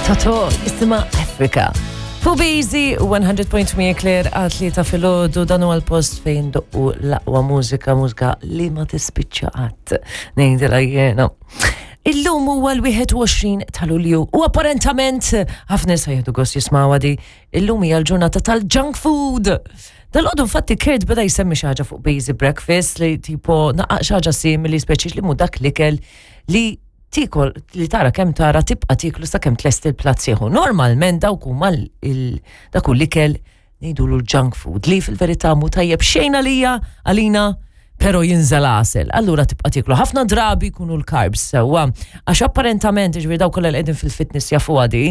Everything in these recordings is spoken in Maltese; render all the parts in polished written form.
Toto jisimha Africa. Fu Busy 100.8 Claire għal ta' filgħodu dan huwa l-post fejn doqqu l-aqwa mużika, mużika li ma tispiċċa qatt. Ngħidilha jiena. Illum huwa l-21 ta' Lulju u apparentament ħafna nies jieħdu gost jismgħu di illum hija l-ġurnata tal-junk food. Dal-għodu infatti Kurt beda jsemmi xi ħaġa fuq Busy Breakfast li tipo naqaq xi ħaġa simili speċi li mu dak l-ikel li tikol li tara kemm tara tibqa' tiklu sakemm tlesti l-platt sieħu. Normalment dawk huma dak hu l-ikel ngħidulu l-junk food li fil-verità mhu tajjeb xejn għalija għalina pero jinżel għasel. Allura tibqa' tiklu. Ħafna drabi jkunu l-carbs sewwa. Għax apparentament, ġifieri dawk kollha li qegħdin fil-fitness jafu għadi,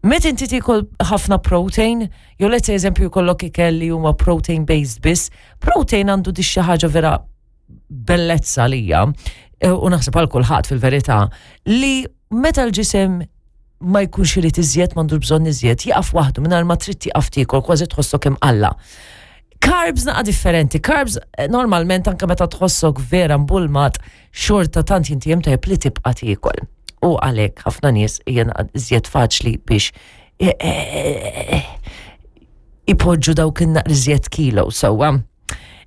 meta inti tikol ħafna protein, jew let's say eżempju jkollok ikel li huma protein based biss, protein għandu di xi ħaġa vera bellezza lija, e, u naħseb għal kulħadd fil-verità, li meta l-ġisem ma jkunx irid iżjed, m'għandux bżonn iżjed, jaqaf waħdu mingħajr ma trid tieqaf tiekol, kważi tħossok imqalla. Carbs naqa differenti, carbs eh, normalment anke meta tħossok vera mbulmat xorta tant jinti jem tajjeb li tibqa' tiekol. U għalhekk ħafna nies hija iżjed faċli biex eh, eh, ipoġġu dawk in-naqriżjed kilo sewwa.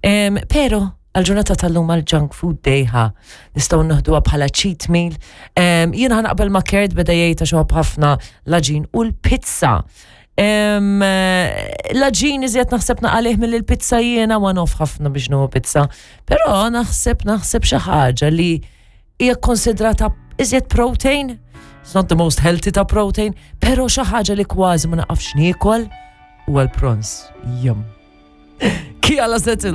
Pero, għal-ġurnata tal-lum għal-junk food day ħa nistgħu naħduha bħala cheat meal. Jiena ħanaqbel ma' Kurt beda jgħid għax ħafna l-aġin u l-pizza. L-aġin iżjed naħseb naqalih mill-pizza jiena one off ħafna biex nuhu pizza. Però naħseb naħseb xi ħaġa li hija konsidrata iżjed protein, it's not the most healthy ta' protein, pero xi ħaġa li kważi ma naqafx niekol huwa l-prons. Jum. Kija la setil.